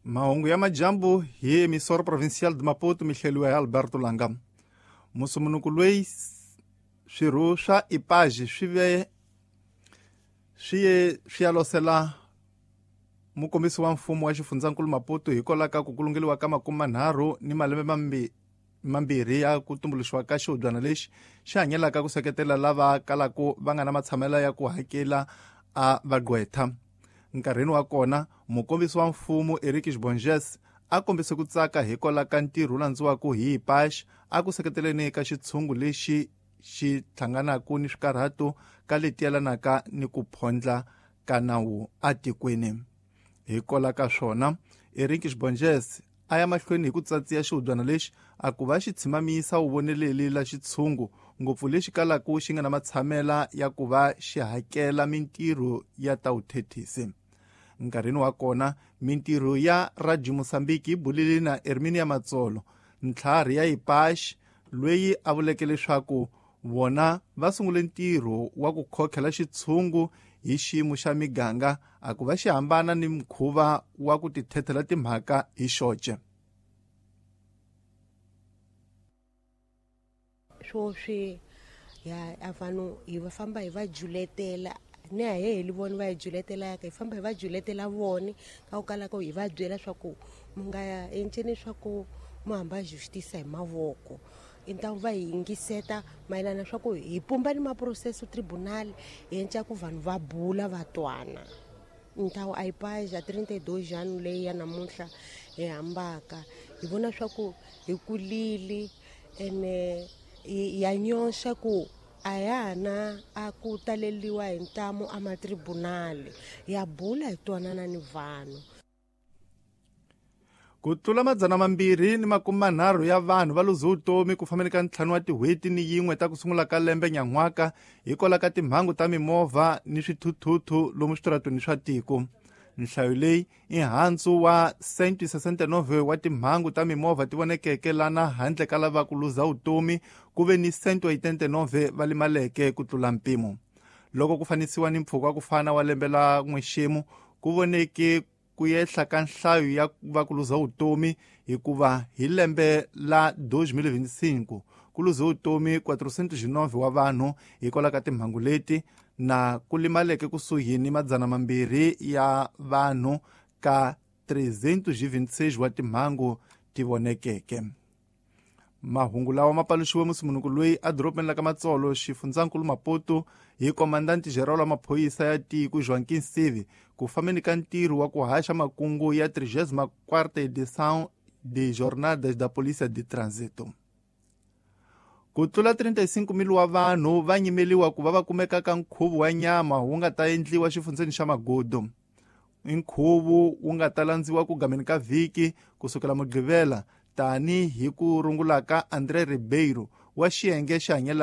Mahungu ya majambu hi emissora provincial de Maputo, mihleliwa hi Alberto Langa. Musumunuku loyi swirho swa IPAJ swi ve swi ye swi ya losela mukombisi wa mfumo wa xifundzankulu Maputo hikwalaho ka ku kulungeliwa ka 30 ni malembe mambirhi ya ku tumbuluxiwa ka xihubyana lexi xi hanyelaka ku seketela lava kalaka va nga na matshamelo ya ku hakela a vagqwetha. Nkarhini wa kona mukombisi wa mfumo Eric Bonges a kombise ku tsaka hikwalaho ka ntirho wu landziwaka hi IPAJ a ku seketeleni ka xitshungu lexi xi hlanganaka ni swikarhato ka leti yelanaka ni ku phondla ka nawu atikweni. Hikwalaho ka swona Eric Bonges a ya mahlweni hi ku tsatsiya xihubyana lexi a ku va xi tshimamisa wuvoneleli la xitshungu ngopfu lexi kalaka xi nga na matshamela ya ku va xi hakela mintirho ya ta vuthethisi. Nkarhini wa kona mintirho ya Radio Mozambique yi bulile na Herminia Matsolo, ntlhari ya IPAJ, loyi a vuleke leswaku vona va sungule ntirho wa ku khokhela xitshungu hi xiyimo xa miganga a ku va xi hambana ni mukhuva wa ku tithethela timhaka hi xoce. Swoswi ya a vanhu hi va famba hi va juletela ni a he heli vona va hi juletelaka, hi famba hi va juletela vona ka ku kala ku hi va byela swa ku mu nga enceni swa ku mu hamba justice hi mavoko. Intawu va hi yingiseta mayelana swa ku hi pumba ni maprocesso tribunal hi enca ku vanhu va bula va twana. Ntawu a IPAJ a 32 anos leyi ya namuntlha hi hambaka hi vona swa ku hi kulile ene ya nyoxa ku a ya ha na a ku taleliwa hi ntamu a matribunali, ya bula hi twanana ni vanhu. Ku tlula 230 ya vanhu va luze vutomi ku fambeni ka 5 wa tin'hweti ni yin'we ta ku sungula ka lembe nyan'waka hikwalaho ka timhangu ta mimovha ni swithuthuthu lomu switaratweni swa tiko. Nhlayo leyi i handzu wa 169 wa timhangu ta mimovha ti vonekeke lana handle ka lava ku luza vutomi ku ve ni 189 va limaleke ku tlula mpimo. Loko ku fanisiwa ni mpfhuka wa ku fana wa lembe la n'wexemu ku voneke ku yehla ka nhlayo ya va ku luza vutomi hikuva hi lembe la 2025 ku luze vutomi 409 wa vanhu hikwalaho ka timhangu leti na ku limaleke kusuhi ni 200 ya vanhu ka 326 wa timhangu ti vonekeke. Mahungu lawa ma paluxiwe musimunuku loyi a dorobeni la ka Matsolo xifundzankulu Maputo hi komandanti general wa maphorisa ya tiko Joaquim Sivi ku fambeni ka ntirho wa ku haxa makungu ya 34ª edição de Jornadas da Polícia de Trânsito. Ku tlula 35,000 wa vanhu va nyimeliwa ku va va kumeka ka nkhuvo wa nyama wu nga ta endliwa xifundzeni xa Magudu. I nkhuvo wu nga ta landziwa ku gameni ka vhiki kusukela Mugqivela tani hi ku rungula ka André Ribeiro wa xiyenge xi hanyelaka.